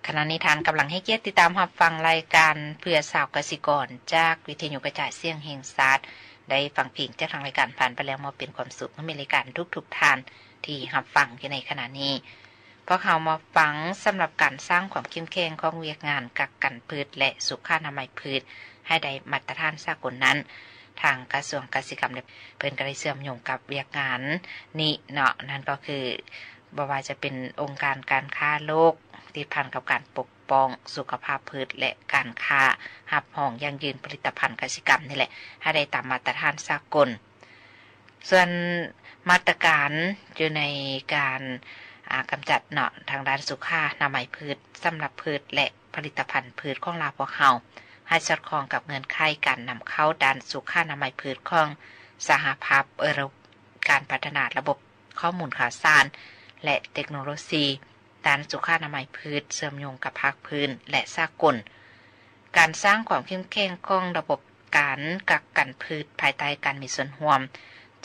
ຂະນະນີ້ທ່ານກຳລັງໃຫ້ກຽດຕິດຕາມຮັບຟັງລາຍການເພື່ອຊາວກະສິກອນ ຈາກວິທະຍຸກະຈາຍສຽງແຫ່ງຊາດ. ໄດ້ຟັງເພງຈາກທາງລາຍການຜ່ານໄປແລ້ວ ມອບເປັນຄວາມສຸກໃຫ້ແມ່ນລາຍການທຸກໆທ່ານທີ່ຮັບຟັງຢູ່ໃນຂະນະນີ້. ພວກເຮົາມາຟັງສຳລັບການສ້າງຄວາມເຂັ້ມແຂງຂອງວຽກງານກັກກັນພືດ ແລະ ສຸຂະອະນາໄມພືດໃຫ້ໄດ້ມາດຕະຖານສາກົນນັ້ນ, ທາງກະຊວງກະສິກຳ ເພິ່ນກໍໄດ້ເຊື່ອມໂຍງກັບວຽກງານນີ້ເນາະ, ນັ້ນກໍຄື ບໍ່ວ່າຈະເປັນອົງການການຄ້າໂລກ ຕິດພັນກັບການປົກປ້ອງສຸຂະພາບພືດ ແລະ ການຄ້າຮັບຮອງຢັ້ງຢືນຜະລິດຕະພັນກະສິກຳນີ້ແຫຼະ ໃຫ້ໄດ້ຕາມມາດຕະຖານສາກົນ. ສ່ວນມາດຕະການຢູ່ໃນການ ອາ ກຳຈັດເນາະ ທາງດ້ານສຸຂາອະນາໄມພືດ ສຳລັບພືດ ແລະ ຜະລິດຕະພັນພືດຂອງລາວພວກເຮົາ ໃຫ້ສອດຄ່ອງກັບເງື່ອນໄຂການນຳເຂົ້າດ້ານສຸຂາອະນາໄມພືດຂອງສະຫະພາບເອີຣົບ, ການພັດທະນາລະບົບ ຂໍ້ມູນຂ່າວສານ ແລະ ເຕັກໂນໂລຊີດ້ານສຸຂາອະນາໄມພືດ ເຊື່ອມໂຍງກັບພາກພື້ນ ແລະ ສາກົນ, ການສ້າງຄວາມເຂັ້ມແຂງຂອງລະບົບການກັກກັນພືດ ພາຍໃຕ້ການມີສ່ວນຮ່ວມ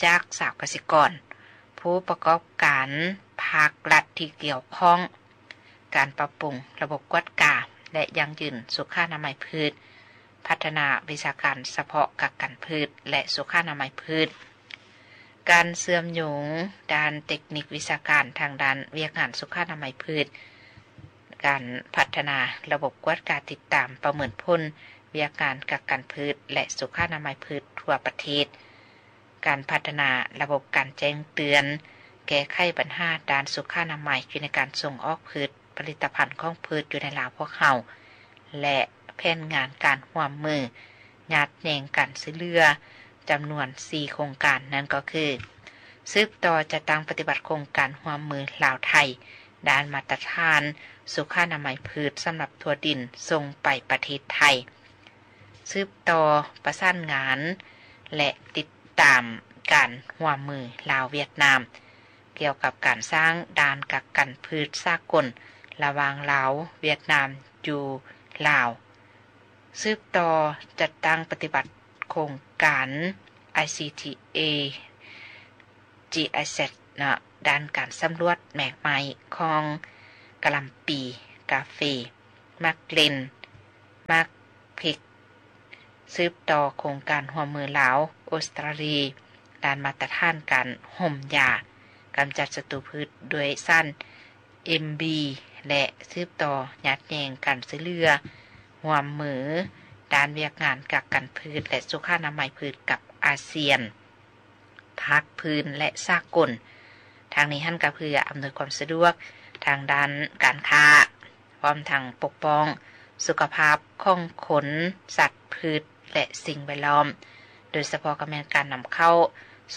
ຈາກຊາວກະສິກອນ, ຜູ້ປະກອບການພາກລັດທີ່ກ່ຽວຂ້ອງ, ການປັບປຸງລະບົບກວດກາ ແລະ ຢັ້ງຢືນສຸຂາອະນາໄມພືດ, ພັດທະນາວິຊາການສະເພາະກັກກັນພືດ ແລະ ສຸຂາອະນາໄມພືດ, ການເຊື່ອມໂຍງດ້ານເຕັກນິກວິຊາການທາງດ້ານວຽກງານສຸຂາອະນາໄມພືດ, ການພັດທະນາລະບົບກວດກາຕິດຕາມປະເມີນຜົນວຽກງານກັກກັນພືດ ແລະ ສຸຂາອະນາໄມພືດທົ່ວປະເທດ, ການພັດທະນາລະບົບການແຈ້ງເຕືອນ ແກ້ໄຂບັນຫາດ້ານສຸຂາອະນາໄມຢູ່ໃນການສົ່ງອອກພືດ ຜະລິດຕະພັນຂອງພືດຢູ່ໃນລາວພວກເຮົາ ແລະ ແຜນງານການຮ່ວມມືຍາດແຍ່ງການຊ່ວຍເຫຼືອ ຈຳນວນສີ່ໂຄງການ, ນັ້ນກໍຄື ສືບຕໍ່ຈັດຕັ້ງປະຕິບັດໂຄງການຮ່ວມມືລາວ-ໄທ ດ້ານມາດຕະຖານສຸຂາອະນາໄມພືດສຳລັບທົ່ວດິນສົ່ງໄປປະເທດໄທ, ສືບຕໍ່ປະສານງານ ແລະ ຕິດຕາມການຮ່ວມມືລາວ-ຫວຽດນາມ ກ່ຽວກັບການສ້າງດ່ານກັກກັນພືດສາກົນລະຫວ່າງລາວ-ຫວຽດນາມຢູ່ລາວ, ສືບຕໍ່ຈັດຕັ້ງປະຕິບັດໂຄງການ ໄອຊີທີເອ ຈີໄອແຊດ ເນາະ ດ້ານການສຳຫຼວດແມກໄມ້ຂອງກະຫຼ່ຳປີ, ກາເຟ, ໝາກເລັ່ນ, ໝາກພິກ, ສືບຕໍ່ໂຄງການຮ່ວມມືລາວ-ອົດສະຕຣາລີ ດ້ານມາດຕະຖານການຫົ່ມຢາ, ກຳຈັດສັດຕູພືດດ້ວຍສານເອັມບີ ແລະ ສືບຕໍ່ຍາດແຍ່ງການຊ່ວຍເຫຼືອຮ່ວມມືດ້ານວຽກງານກັກກັນພືດ ແລະ ສຸຂາອະນາໄມພືດກັບອາຊຽນ, ພາກພື້ນ ແລະ ສາກົນ. ທາງນີ້ຫັ້ນກໍເພື່ອອຳນວຍຄວາມສະດວກທາງດ້ານການຄ້າ ພ້ອມທັງປົກປ້ອງສຸຂະພາບຂອງຄົນ, ສັດ, ພືດ ແລະ ສິ່ງແວດລ້ອມ, ໂດຍສະເພາະກໍແມ່ນການນຳເຂົ້າ,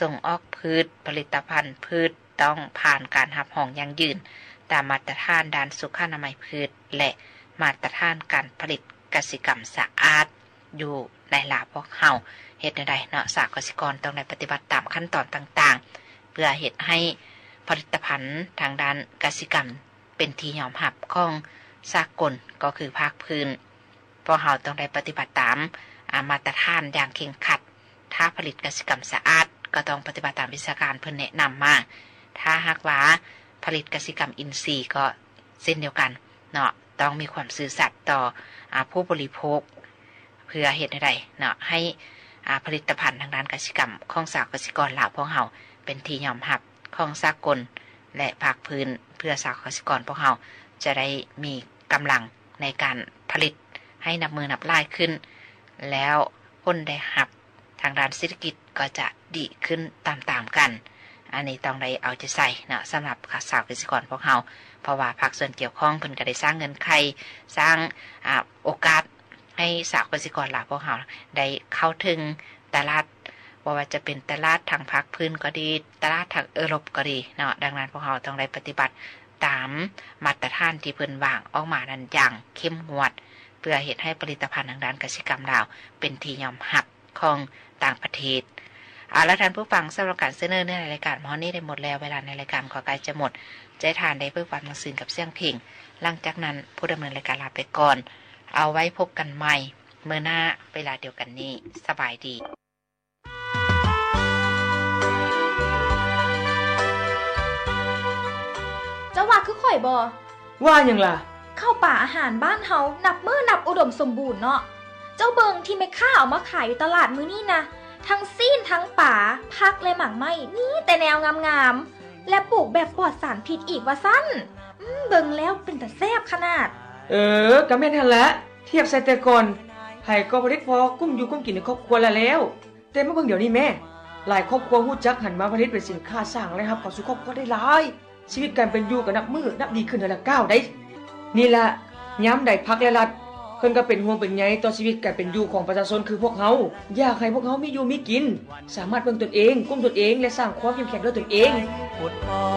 ສົ່ງອອກພືດ, ຜະລິດຕະພັນພືດຕ້ອງຜ່ານການຮັບຮອງຢັ້ງຢືນຕາມມາດຕະຖານດ້ານສຸຂາອະນາໄມພືດ ແລະ ມາດຕະຖານການຜະລິດກະສິກຳສະອາດ ຢູ່ໃນລາວພວກເຮົາ. ເຮັດແນວໃດເນາະ ຊາວກະສິກອນຕ້ອງໄດ້ປະຕິບັດຕາມຂັ້ນຕອນຕ່າງໆ ເພື່ອເຮັດໃຫ້ຜະລິດຕະພັນທາງດ້ານກະສິກຳ ເປັນທີ່ຍອມຮັບຂອງສາກົນ ກໍຄືພາກພື້ນ. ພວກເຮົາຕ້ອງໄດ້ປະຕິບັດຕາມ ອາ ມາດຕະຖານຢ່າງເຄັ່ງຄັດ. ຖ້າຜະລິດກະສິກຳສະອາດ ກໍຕ້ອງປະຕິບັດຕາມວິຊາການເພິ່ນແນະນຳມາ. ຖ້າຫາກວ່າຜະລິດກະສິກຳອິນຊີ ກໍເຊັ່ນດຽວກັນເນາະ, ຕ້ອງມີຄວາມຊື່ສັດຕໍ່ ອາ ຜູ້ບໍລິໂພກ ເພື່ອເຮັດໃຫ້ໄດ້ເນາະ ໃຫ້ ອາ ຜະລິດຕະພັນທາງດ້ານກະສິກຳຂອງຊາວກະສິກອນລາວພວກເຮົາ ເປັນທີ່ຍອມຮັບຂອງສາກົນ ແລະ ພາກພື້ນ ເພື່ອຊາວກະສິກອນພວກເຮົາຈະໄດ້ມີກຳລັງໃນການຜະລິດໃຫ້ນັບມື້ນັບຫຼາຍຂຶ້ນ, ແລ້ວຜົນໄດ້ຮັບທາງດ້ານເສດຖະກິດກໍຈະດີຂຶ້ນຕາມໆກັນ. ອັນນີ້ຕ້ອງໄດ້ເອົາໃຈໃສ່ເນາະ ສຳລັບຊາວກະສິກອນພວກເຮົາ, ເພາະວ່າພາກສ່ວນກ່ຽວຂ້ອງເພິ່ນກໍໄດ້ສ້າງເງື່ອນໄຂ, ສ້າງ ອາ ໂອກາດ ໃຫ້ຊາວກະສິກອນລາວພວກເຮົາໄດ້ເຂົ້າເຖິງຕະຫຼາດ, ບໍ່ວ່າຈະເປັນຕະຫຼາດທາງພາກພື້ນກໍດີ, ຕະຫຼາດທາງເອີຣົບກໍດີເນາະ. ດັ່ງນັ້ນ ພວກເຮົາຕ້ອງໄດ້ປະຕິບັດຕາມມາດຕະຖານທີ່ເພິ່ນວາງອອກມານັ້ນຢ່າງເຂັ້ມງວດ, ເພື່ອເຮັດໃຫ້ຜະລິດຕະພັນທາງດ້ານກະສິກຳລາວເປັນທີ່ຍອມຮັບຂອງຕ່າງປະເທດ. ເອົາລະ ທ່ານຜູ້ຟັງ, ສຳລັບການສະເໜີໃນລາຍການມາຮອດນີ້ໄດ້ໝົດແລ້ວ, ເວລາໃນລາຍການກໍໃກ້ຈະໝົດ. ຈະໃຫ້ທ່ານໄດ້ເປີດຟັງໜັງສືກັບສຽງເພງ. ຫຼັງຈາກນັ້ນ ຜູ້ດຳເນີນລາຍການລາໄປກ່ອນ. ເອົາໄວ້ພົບກັນໃໝ່ມື້ໜ້າເວລາດຽວກັນນີ້. ສະບາຍດີ. ເຈົ້າວ່າຄືຂ້ອຍບໍ່? ວ່າຫຍັງລະ? ເຂົ້າປາອາຫານບ້ານເຮົານັບມື້ນັບອຸດົມສົມບູນເນາະ. ເຈົ້າເບິ່ງທີ່ແມ່ຄ້າເອົາມາຂາຍຢູ່ຕະຫຼາດມື້ນີ້ນະ, ທັງຊີ້ນ ທັງປາ, ຜັກ ແລະ ໝາກໄມ້, ມີແຕ່ແນວງາມໆ ແລະ ປູກແບບປອດສານພິດອີກວ່າຊັ້ນ. ອືມ ເບິ່ງແລ້ວເປັນຕາແຊບຂະໜາດ. ເອີ ກະແມ່ນຫັ້ນລະ. ທຽບໃສ່ແຕ່ກ່ອນ ໃຜກໍຜະລິດພໍກຸ້ມຢູ່ກຸ້ມກິນໃນຄອບຄົວລະແລ້ວ. ແຕ່ມາເບິ່ງດຽວນີ້ແມ້, ຫຼາຍຄອບຄົວຮູ້ຈັກຫັນມາຜະລິດເປັນສິນຄ້າ ສ້າງລາຍຮັບເຂົ້າສູ່ຄອບຄົວໄດ້ຫຼາຍ. ຊີວິດການເປັນຢູ່ກໍນັບມື້ນັບດີຂຶ້ນເທື່ອລະກ້າວໃດ໋. ນີ້ລະ ຍາມໃດພັກ ແລະ ລັດ ເພິ່ນກໍເປັນຫ່ວງເປັນໃຍຕໍ່ຊີວິດການເປັນຢູ່ຂອງປະຊາຊົນຄືພວກເຮົາ, ຢາກໃຫ້ພວກເຮົາມີຢູ່ມີກິນ, ສາມາດເບິ່ງຕົນເອງ, ກຸ້ມຕົນເອງ ແລະ ສ້າງຄວາມເຂັ້ມແຂງດ້ວຍຕົນເອງ.